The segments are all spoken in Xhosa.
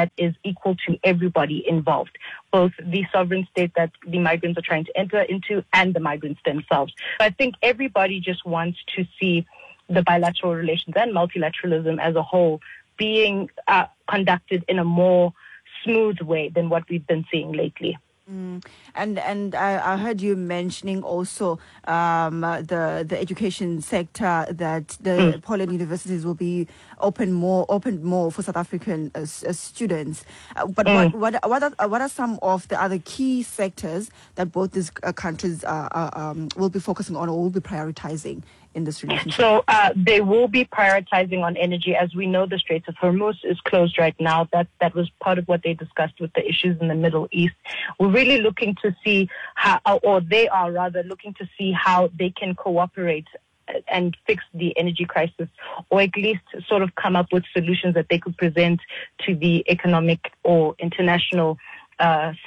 that is equal to everybody involved, both the sovereign state that the migrants are trying to enter into and the migrants themselves. I think everybody just wants to see the bilateral relations and multilateralism as a whole being conducted in a more smooth way than what we've been seeing lately. And I heard you mentioning also the education sector, that the Poland universities will be opened more for South African students. But what are some of the other key sectors that both these countries will be focusing on or will be prioritizing in this relationship? So they will be prioritizing on energy. As we know, the Straits of Hormuz is closed right now. That was part of what they discussed with the issues in the Middle East. We're really looking to see how, or they are rather looking to see how they can cooperate and fix the energy crisis, or at least sort of come up with solutions that they could present to the economic or international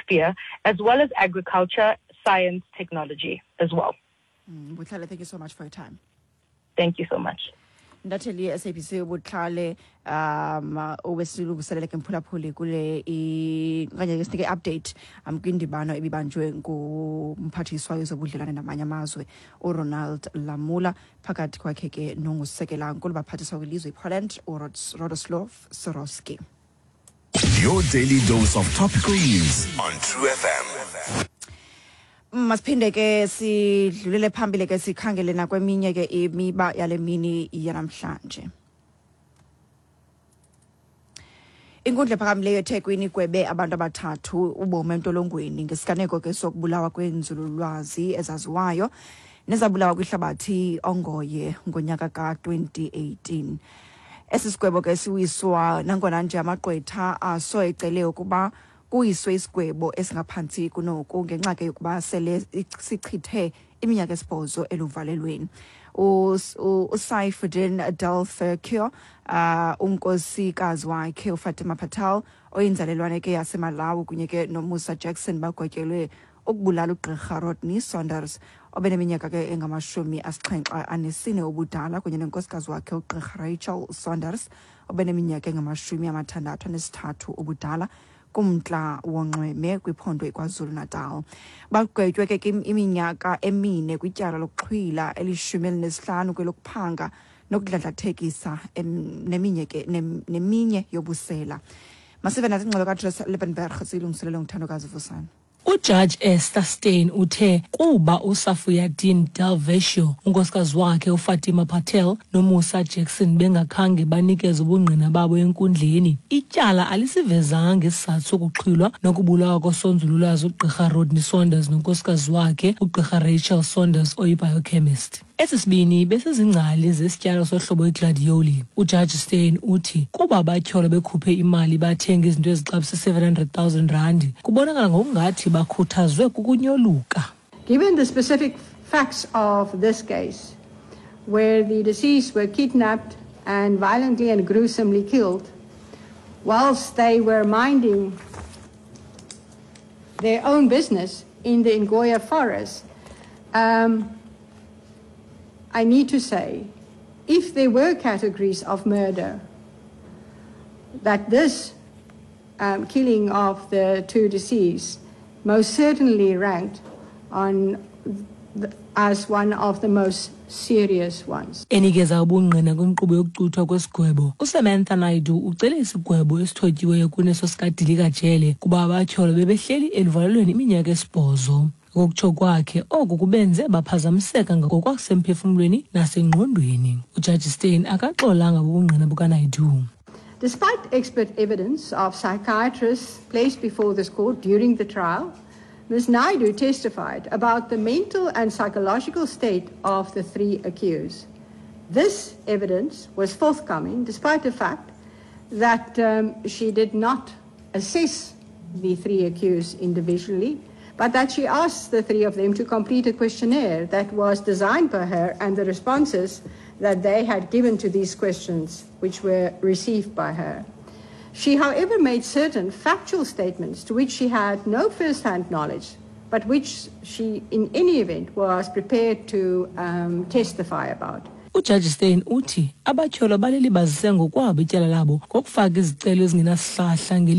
sphere, as well as agriculture, science, technology as well. Botlhale, thank you so much for your time. Thank you so much. Intatheli ye-SABC uBotlhale obesilungiselele ke, mphulaphuli, kule okanye ke sinike i-update kwindibano ebibanjwe ngumphathiswa wezobudlelwane namanye amazwe uRonald Lamola phakathi kwakhe ke nongusekela nkulu baphathiswa kwilizwe iPoland uRadoslaw Sikorski. Your daily dose of topical news on True FM. Masiphinde ke sidlulele phambili ke sikhangele nakweminye ke imiba yale mini yanamhlanje. Inkundla ephakamileyo eThekwini igwebe abantu abathathu ubomi entolongweni ngesiganeko ke sokubulawa kwenzululwazi ezaziwayo nezabulawa kwihlabathi ongoye ngonyaka ka-2018. Esi sigwebo ke siwiswa nangona nje amagqwetha aso ecele ukuba kuyiswe isigwebo esingaphantsi kunoku ngenxa ke yokuba sele sichithe iminyaka esibhozo eluvalelweni. uSaifuddin Delferkio, unkosikazi wakhe uFatima Patel oyinzalelwane ke yaseMalawi kunye ke noMusa Jackson bagwetyelwe ukubulala ugqirha Rodney Saunders obeneminyaka ke engama-74 ubudala kunye nenkosikazi wakhe ugqirha Rachel Saunders obeneminyaka engama-63 ubudala kumntla wonxweme kwiphondo iKwaZulu-Natal. Bagwetywe ke iminyaka 4 kwityala lokuxhwila, eli-15 kwelokuphanga nokudladlathekisa, neminye ke neminye yobusela. Masive nathi ingxelo kaJoyce Liebenberg, siyilungiselele nguThandokazi Vusana. Ujaji Esther Steyn uthe kuba uSafuyadin Delvecchio, unkosikazi wakhe uFatima Patel noMusa Jackson bengakhange banikeze ubungqina babo enkundleni, ityala alisivezanga isizathu sokuxhwilwa nokubulawa kosonzululwazi ugqirha Rodney Saunders nonkosikazi wakhe ugqirha Rachel Saunders oyi-biochemist. Esi sibini besizingcali zesityalo sohlobo igladioli. Ujaji Steyn uthi kuba abatyholwa bekhuphe imali bathenga izinto ezixabisa 700 000 randi, kubonakala ngokungathi bakhuthazwe kukunyoluka. Given the specific facts of this case, where the deceased were kidnapped and violently and gruesomely killed whilst they were minding their own business in the Ngoye forest, I need to say, if there were categories of murder, that this killing of the two deceased most certainly ranked as one of the most serious ones. Enikeza ubungqina kwinkqubo yokucuthwa kwesigwebo, uSamantha Naidu ucele isigwebo esithotyiweyo kuneso sikadilika-jele kuba abatyholwa bebehleli eluvalelweni iminyaka 8. Ngokutsho kwakhe, oku kubenze baphazamiseka ngokwasemphefumlweni nasengqondweni. Ujaji Steyn akaxolanga bubungqina bukaNaidu. Despite expert evidence of psychiatrists placed before this court during the trial, Ms. Naidu testified about the mental and psychological state of the three accused. This evidence was forthcoming despite the fact that she did not assess the three accused individually, but that she asked the three of them to complete a questionnaire that was designed by her and the responses that they had given to these questions, which were received by her. She, however, made certain factual statements to which she had no first-hand knowledge, but which she, in any event, was prepared to testify about. Ujaji Steyn uthi abatyholwa balilibazise ngokwabo ityala labo ngokufaka izicelo ezingenasihlahla ngeli.